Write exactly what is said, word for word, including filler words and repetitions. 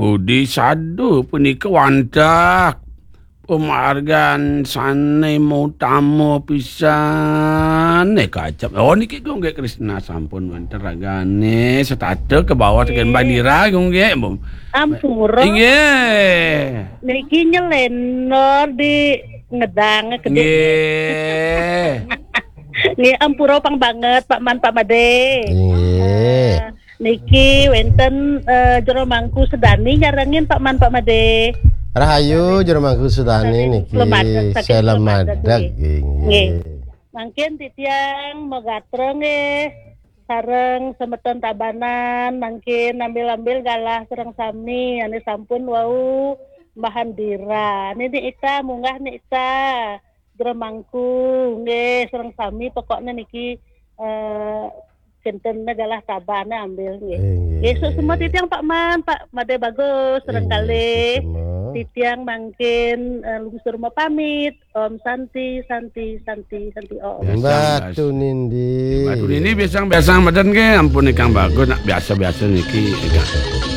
Pudi sadu punika wantah pamargan sane mautama pisan, eh, kacap. Oh, niki Gung Gek Krisna sampun wenten ragane setata ke bawah teken bandira, Gung Gek. Ampura. Inggih. Niki nyelenor di ngedang gede. Nggih. Nggih, ampura pang banget, Pak Man, Pak Made. Nggih. Eh, niki wenten, eh, Jero Mangku Sedani nyarengin Pak Man, Pak Made. Rahayu, Jero Mangku Sedani niki. Selamat, saking selamat, selamat, nggih. Nggih. Mangkin titiang magatra nggih. Sareng semeton Tabanan, mangkin ambil-ambil galah sareng sami ane sampun wau mahandira. Nini Ita, munggah Ni Ita, Jero Mangku, nggih, sareng sami pokokne niki, eh, kinten galah tabane ambil nggih. Eh, nggih. Nggih, semua titiang Pak Man, Pak Made Bagus, sareng kalih. Titiang mangkin, eh, lungsur mapamit. Om Santi, Santi, Santi, Santi Om. Biasa, Mbak Tunindi. Mbak Tunindi biasa, biasa meden nggih, ampun ingkang bagus, nak biasa-biasa niki, ingkang.